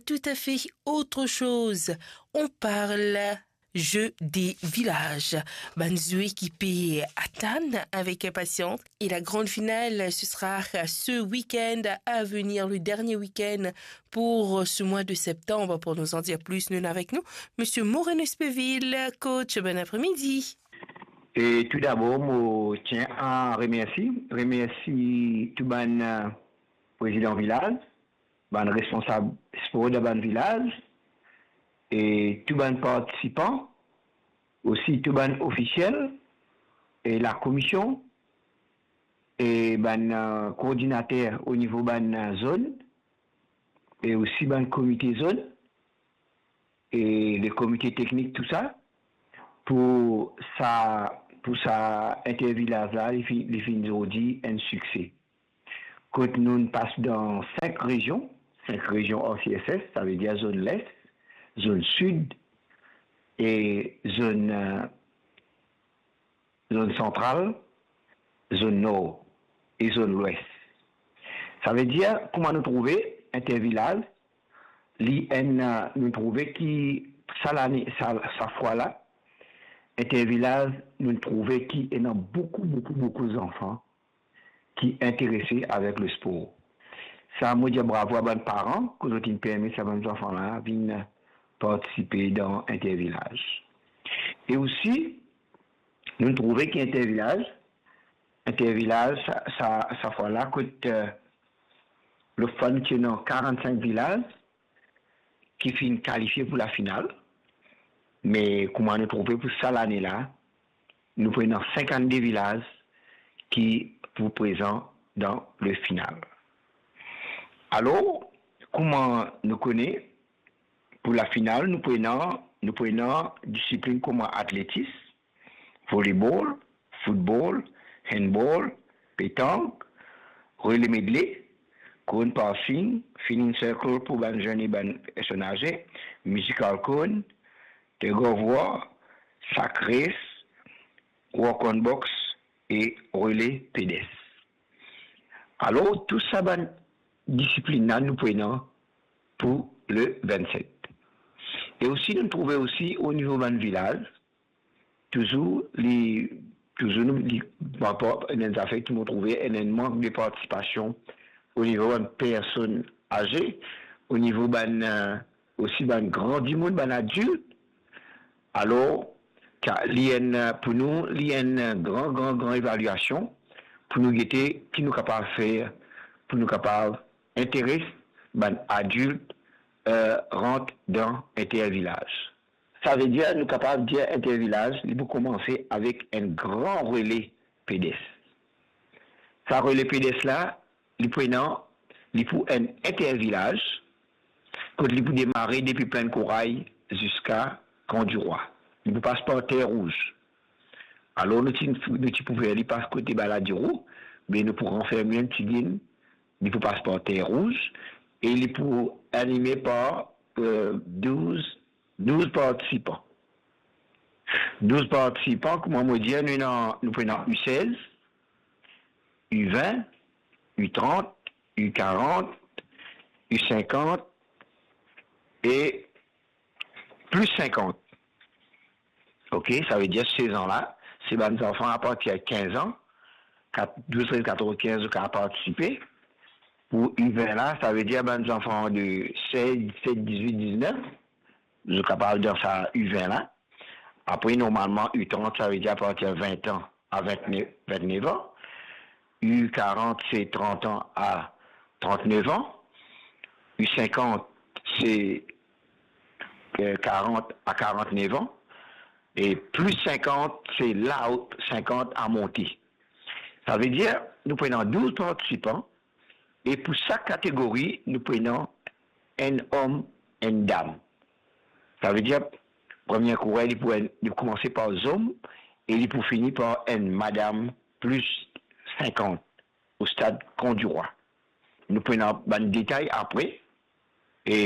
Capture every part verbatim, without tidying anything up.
Tout à fait autre chose. On parle jeu des villages. Bann zwe ki pe atann avek inpasians. Et la grande finale, ce sera ce week-end à venir, le dernier week-end pour ce mois de septembre. Pour nous en dire plus, nous avons avec nous Monsieur Maureen Espeville, coach. Bon après-midi. E tou dabor, mo tien a remersi, remersi tou bann, eh, prezidan vilaz, bann responsab spor dan bann vilaz, e tou bann partisipan, osi tou bann ofisiel, e lakomision, e bann, eh, koordinater o nivo bann, eh, zone, e osi bann komite zone, e le komite teknik, tou sa, pou sa, pou sa intervilaz la, li fi-, li finn zordi enn sikse. Kot nou pas dan sink rezion, sink rezion R C S S, savedir zone Les, zone Sid e zone, eh, zone Santral, zone Nor e zone Lwes. Savedir, kouma nou trouve, intervilaz, li enn, eh, nou trouve ki sa lane, sa, sa fwa la, intervilaz, nou trouve ki ena boukou, boukou, boukou zanfan ki interese avek lespor. Sa, mo dir bravo a bann paran, ki zot inn permet sa bann zanfan la vinn partisipe dan intervilaz. E osi, nou trouve ki intervilaz, intervilaz, sa, sa, sa fwa la, kot, eh, lot fwa nou ti ena karannsink vilaz ki finn kalifie pou lafinal, me kouma nou trouve pou sa lane la, nou pou ena sinkannde vilaz ki pou prezan dan le final. Alor, kouma nou kone, pou lafinal, nou pou ena, nou pou ena disiplin kouma atletis, volleyball, football, handball, petank, relay medley, cone passing, finish circle pou bann zenn e bann personn aze, musical cone, tug of war, sac race, walk on box e relay pedestre. Alor, tou sa bann disiplin la nou pou ena pou le vennset. E osi, nou trouve osi o nivo bann vilaz, touzour li, touzour nou, li, par rapor enn zafer ki mo trouve enn, enn mank de partisipasion o nivo bann personn aze, o nivo bann, eh, osi bann gran dimoun, bann adilt. Alor, ta-, li enn, eh, pou nou, li enn, eh, gran, gran, gran evaliasion pou nou gete ki nou kapav fer, pou nou kapav interes bann adilt, eh, rant dan intervilaz. Savedir, nou kapav dir intervilaz, li pou koumanse avek enn gran rele pedestre. Sa rele pedestre la, li pou ena, li pou enn intervilaz, kot li pou demare depi Plinn Kouray ziska Kan Dirwa. Li pou pas par Ter Rouz. Alor, nou ti, nou ti pou fer li pas kote Baladiro, me nou pou ranferm li enn tigit, li pou pas par Ter Rouz, e li pou anime par, eh, douz, douz partisipan. Douz partisipan, kouma mo dir, nou ena, nou pou ena U sez, U vin, U trant, U karant, U sinkant e plis sinkant. Ok, savedir sez an la, se bann zanfan apartir kinz an, kat-, douz, trez, katorz, kinz, zot kapav partisipe. Pou U vin la, savedir bann zanfan de sez, disset, dizwit, diznef, zot kapav dan sa U vin la. Apre, normalman, U trant, savedir apartir vin an a vintnef, vintnef an. U karant, se trant an a trantnef an. U sinkant, se, eh, karant a karantnef an. E plis sinkant, se la, sinkant a monte. Savedir, nou pou ena douz partisipan, e pou sak kategori, nou pou ena enn om, enn dam. Savedir, premie kourer, li pou enn, li pou koumanse par zom, e li pou fini par enn madam plis sinkant, o stad Kan Dirwa. Nou pou ena bann detay apre, e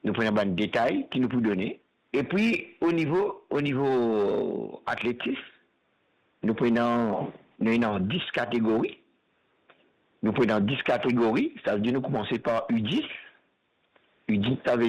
nou pou ena bann detay ki nou pou done. Epi, o nivo, o nivo atletis, nou pou ena, nou ena dis kategori. Nou pou ena dis kategori, savedir nou koumanse par U dis. U dis, savedir